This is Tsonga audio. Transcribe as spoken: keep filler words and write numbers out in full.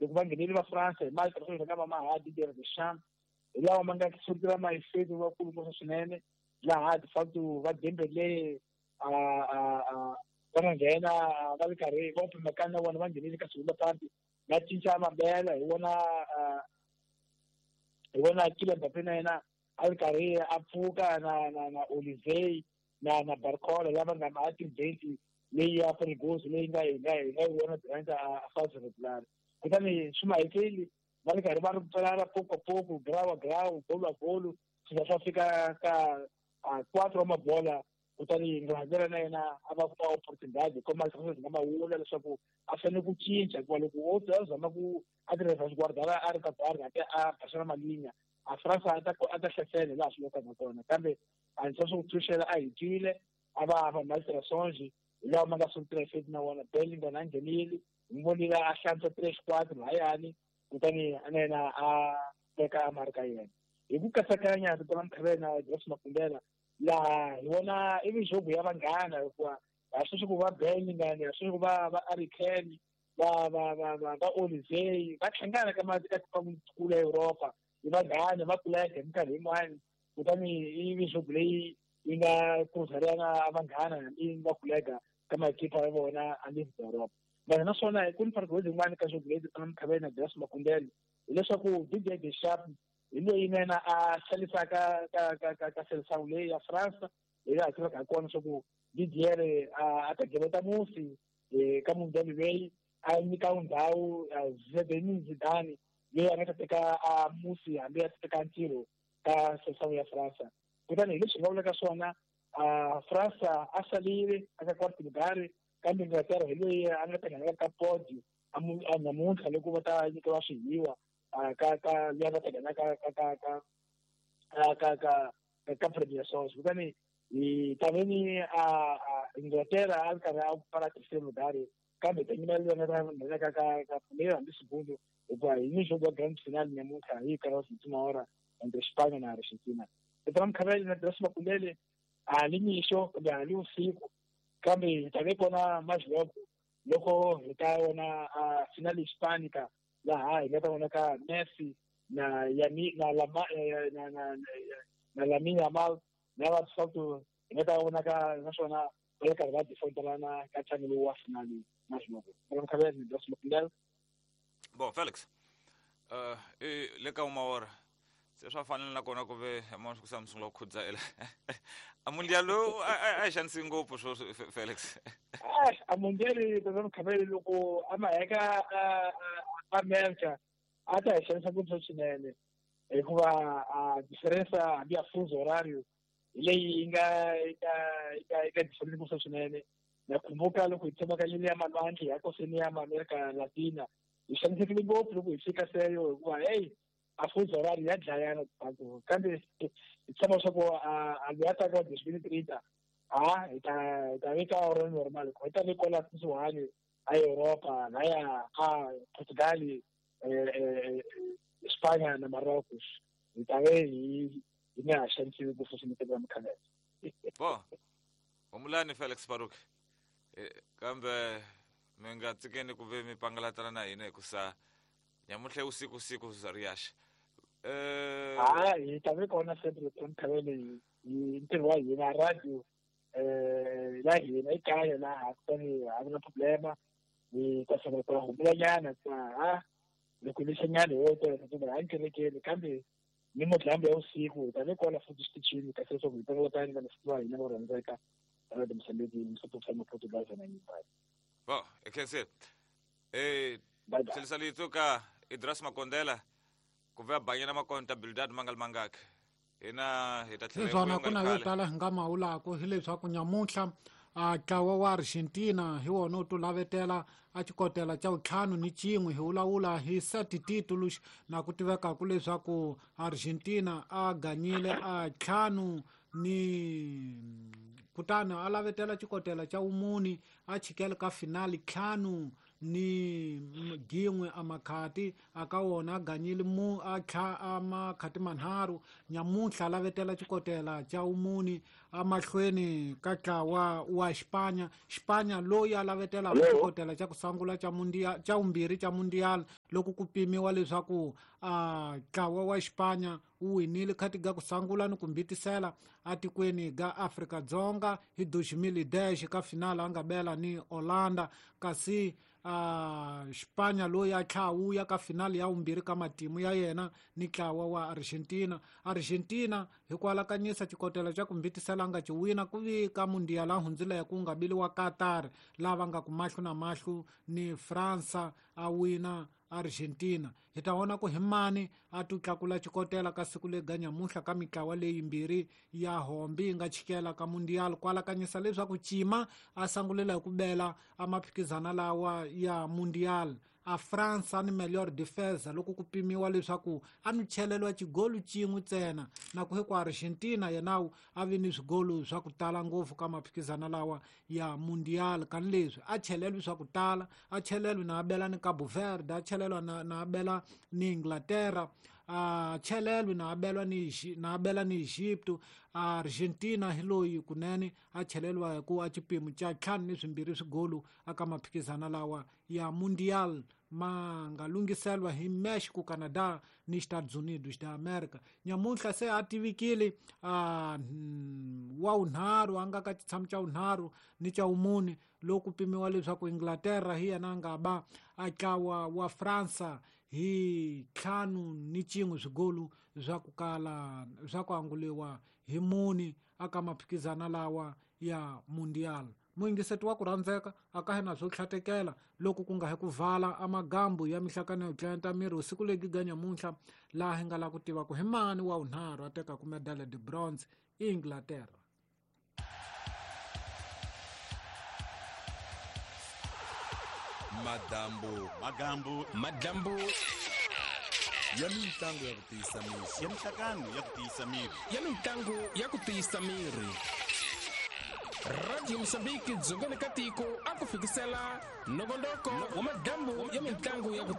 loko va nghenele va France hi mali tirhisa nga va maha Didier Deschamps hi lawa ma nga sukela mayifeti vakulu ngopfu swinene laha de facto va Dembele a a a va nga nghena va ri karhi va Upamecano na vona va nghenile ka segunda parte va cinca mabela hi vona hi vona Kylian Mbappé na yena a ri karhi a pfuka na na na Olivier na na Barcola lava nga ma tibenti leyi ya Ferguson leyi nga hi nga hi nga yi vona durant a phase regular kutani swi mahekeli va ri karhi va ri pfalana poco a poco grau a grau golo a golo swi za swa fika ka quatro wa mabola kutani Inglaterra na yena a va kuma opportunidade kuma nga ma vula leswaku a fanele ku cinca hikuva loko o a zama ku a tirhisa Guardiola a ri ka Barca a Barcelona malinya a France a ta a ta hlasela laha swi lokaka kona kambe a ndzi swa ku Tuchel a hi twile a va va malterações hi lawa ma nga sungula feti na wona Bellingham a nghenile hi vonile a hlantswa tres quatro lahayani kutani na yena a teka marka yena hi ku katsakanya rito ra Mkhavela Grace Makumbela laha hi vona i mijogo ya vanghana hikuva a swi ku va Bellingham a swi ku va va Harry Kane va va va va va Olivier va hlangana ka ka tikulu ya Europa hi vanghana va kuleka hi minkarhi yin'wani kutani i mijogo leyi yi nga cruzarana vanghana hambi va kuleka ka makipa ya vona a le Europa vanhu naswona ku ni fargo yin'wana ka jogo leyi na Mkhavela na Grace Makumbela hileswaku Didier Deschamps hi loyi na yena a xanisaka ka ka ka ka seleção leyi ya France hi laha tivaka ha kona leswaku Didier a ta geveta musi ka mundial leyi a nyika ndhawu Zinedine Zidane leyi a nga ta teka a musi hambi a ta teka ntirho ka seleção ya France kutani hi leswi hi nga vulaka swona France a salile aka quarto lugar kambe Inglaterra hi loyi a nga ta nghena ka podio namuntlha loko va ta nyikiwa swihiwa ka ka leyi va ta nghena ka ka ka ka ka ka ka Premier Songs kutani hi taveni a Inglaterra a ri karhi a pfala terceiro lugar kambe ta nyima leyi nga ta nghena ka ka ka primeiro hambi segundo hikuva hi mijogo ya grand final namuntlha hi karhi wa última hora entre Espanha na Argentina rito ra Mkhavela na Grace Makumbele a li mixo kumbe a li usiku kambe hi ta ve kona majogo loko hi ta vona a final hispánica laha hi nga ta vona ka Messi na Yami na Lama na na na Lamine Yamal na va Salto hi nga ta vona ka naswona va le karhi va defendelana ka ntlangu lowu wa finali majogo ra Mkhavela na Grace Makumbele. Bom, Felix, uh, e le ka uma hora se swa fanele na kona ku ve mona ku sa mi sungula ku khudzaela a mundial lowu a hi xanisi ngopfu swo Felix a mundial ra Mkhavela loko a ma heka America a ta hi xanisa ngopfu swinene hikuva a diferença hambi ya fuso horário hi leyi yi nga yi nga yi nga yi nga difference ngopfu swinene na khumbuka loko hi tshama ka yini ya malwandle ya koseni ya America Latina hi xanisekile ngopfu loko hi fika seyo hikuva hey a fuso horário ya dlayana kambe hi tshama leswaku a loyi a taka wa dois mil trinta a hi ta hi ta veka hora normal hi ta ve kwala kusuhani a Europa laya a Portugal Espanha na Marrocos hi ta ve hi hi nga ha xanisiwi ngopfu swinene ra Mkhavela. Bo humulani Felix Baruk kambe mi nga tsikeni ku ve mi pangalatana na hina hikusa nyamutlhe usiku siku riyaxa eh ah hi ta ve kona sempre ra Mkhavela hi ntirho wa hina radio eh la hina ekaya laha kutani a ku na problema hi ta sungula ku humulanyana ha loko lexanyana hi wo a nkerekeni kambe ni modlambi ya usiku hi ta ve kona futhi xitichini kasi leswaku hi pangalatana na leswi va hina vo rhandzeka Radio Moçambique Msopho sa Portugal na nyumbani. Bo, e eh tlhelisalitso ka Idras Makondela ku va banyana makontabilidade mangal mangaka hina hi ta tlhela swona ku na yo tala hi nga mawulako hileswaku nyamuntlha a ntlawa wa Argentina hi wona wu tulavetela a xikotela xa ntlhanu ni xin'we hi vulavula hi seti titulus na ku tivekaku leswaku Argentina a ganyile a ntlhanu ni kutani a lavetela xikotela xa vumune a chikele ka finali ntlhanu ni gin'we amakhati aka wona a ganyile mu a tlha amakhati manharhu nyamuntlha lavetela xikotela xa wumuni amahlweni ka ntlawa wa Xipanya. Xipanya loyi a lavetela xikotela xa ku sungula xa mundial xa vumbirhi xa mundial loko ku pimiwa leswaku a ntlawa wa Xipanya wu winile khati ga ku sungula ni ku mbitisela atikweni ga Afrika Dzonga hi dois mil e dez ka finala a nga bela ni Holanda, kasi a Xipanya loyi a tlha wuya ka finali ya vumbirhi ka matimu ya yena ni ntlawa wa Argentina. Argentina hi ku alakanyisa xikotela xa ku mbitisela nga ci wina ku vi ka mundial a hundzile ku nga biliwa Qatar lava nga ku mahlo na mahlo ni Fransa a wina Argentina. Hi ta vona ku hi mani a tu tlakula xikotela ka siku lega nyamuntlha ka mitlawa leyimbirhi ya hombi yi nga chikela ka mundial ku alakanyisa leswaku Cima a sangulela hi ku bela a maphikizana lawa ya mundial. A Fransa ni melhor defesa loko ku pimiwa leswaku a ni chelelwa xigolu xin'we ntsena na ku hi ku Argentina yena a vi ni swigolu swa ku tala ngopfu ka maphikizana lawa ya mundial kan leswi a chelelwi swa ku tala a chelelwi na abela ni Cabo Verde a chelelwa na na abela ni Inglaterra a chelelwi na abelwa ni na abela ni Egypto. Argentina hi loyi kunene a chelelwa hi ku a xipimo xa ntlhanu ni swimbirhi swigolu aka maphikizana lawa ya mundial ma nga lunghiselwa hi Mexico, Canada ni Estados Unidos da America. Nyamuntlha se a tivikile a wa wunharhu a nga ka xitshamo xa wunharhu ni xa wumune loko pimiwa leswaku Inglaterra hi yena a nga ba a ntlawa wa Fransa hi ntlhanu ni xin'we swigolu swa ku kala swa ku anguliwa hi muni aka maphikizana lawa ya mundial. Muyingiseti wa ku rhandzeka a ka hina swo tlhatekela loko ku nga hi ku vala amagambu ya mihlakano yo tlenta miri usiku legi ga nyamuntlha laha hi nga la ku tiva ku hi mani wa wunharhu a tekaku medale de bronze i Inglaterra. Madambu magambu madambu ya mitlangu ya ku tiyisa miri ya mihlakano ya ku tiyisa miri ya mitlangu ya ku tiyisa miri. Radio Mozambique dzongeni ka tiko a ku fikisela nongonoko wa madambu ya mitlangu ya ku